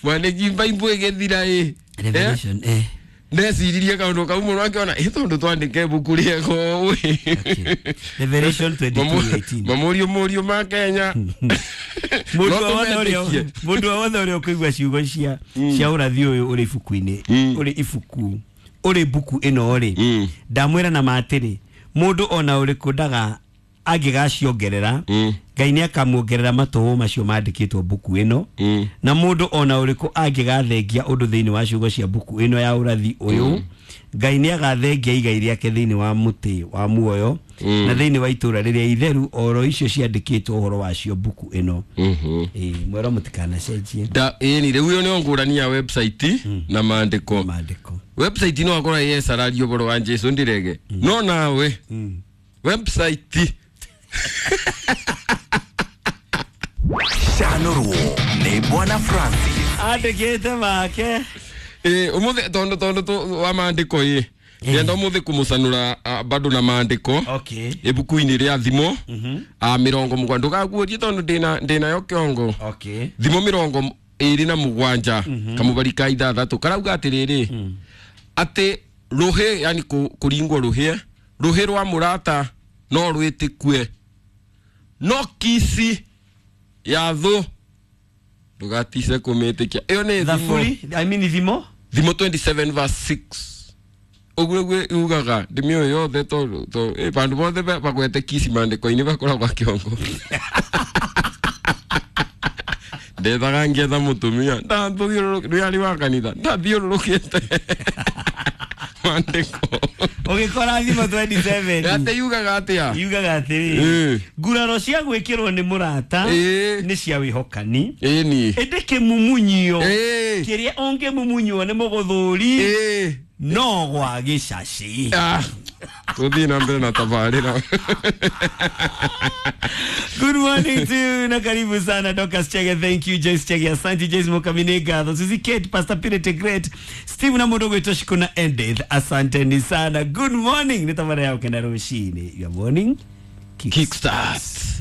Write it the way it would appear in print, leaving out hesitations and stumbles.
Mwandĩki Bible ĩgĩthira ĩ. Revelation Ndeciririe kaũndũ kau mũno akĩona ĩ tondũ twandĩke ibuku rĩega ũũ Okay. Revelation 22:18. Mamũrio mũrio ma Kenya. Mũndũ No o wothe ũrĩa tũmetĩkie. mũndũ o wothe ũrĩa ũkũigua ciugo cia ũrathi ũyũ ũrĩ ibuku-inĩ ũrĩ ibuku ũrĩ mbuku ĩno rĩ, ndamwĩra na ma atĩrĩ, mũndũ ona ũrĩkũ ndaga angĩgaciongerera, Ngai nĩ akamuongerera matũhũ macio mandĩkĩtwo mbuku ĩno, na mũndũ ona ũrĩkũ angĩgathengia ũndũ thĩinĩ wa ciugo cia mbuku ĩno ya ũrathi ũyũ, Ngai nĩ agathengia igai rĩake thĩinĩ wa mũtĩ wa muoyo na thĩinĩ wa itũũra rĩrĩa itheru, oro icio ciandĩkĩtwo ũhoro wacio mbuku ĩno. Ĩĩ, mwero mũtikanacenjie. Da ĩni rĩu ĩyo nĩyo ngũrani ya website na maandĩko. Maandĩko. Website no akorwo yesararia ũhoro wa Jesu ndirege no nawe website. Canũrwo nĩ Bwana Francis. Andĩkĩte make. Ĩ ũmũthĩ tondũ wa maandĩko ĩ ndĩrenda ũmũthĩ kũmũcanũra bado na maandĩko. Ibuku-inĩ rĩa Thimo 70, ndũgaguũrie tondũ ndĩnayo kĩongo. Thimo 27 kamũbari ka 6 karauga atĩrĩrĩ, atĩ rũhĩ, yani kũringwo rũhĩ, rũhĩ rwa mũrata no rwĩtĩkue, no kici ya thũ ndũgatice kũmĩtĩkia. Ĩyo nĩ Thimo. Thaburi, I mean Thimo. Thimo 27 verse 6, ũguo nĩguo yugaga. Ndĩmĩũĩ yothe tondũ bandũ bothe bagwete kici maandĩko-inĩ bakoragwo kĩongo. Ndethaga ngetha mũtumia ndathiũrũrũkĩte wa kanitha ndathiũrũrũkĩte maandĩko. Ũgĩkora Thimo 27. Atĩ yugaga atĩa? Yugaga atĩrĩrĩ, nguraro cia gwĩkĩrwo nĩ mũrata nĩ cia wĩhokani, ĩni ĩndĩ kĩmumunyio kĩrĩa ũngĩmumunywo nĩ mũgũthũri no gwa gĩcaci. Ah, tũthiĩ na mbere na tabarĩra. Good morning to you na karibu sana Dorcas Chege, thank you Joyce Chege, asante Joyce Mukamine Gatho, Suzy Kate, Pastor Peter Great, Steve na mũndũ gwĩtwo Shikuna Edith, asanteni sana. Good morning, nĩ tabara ya ũkenda rũcinĩ. Your morning Kickstart.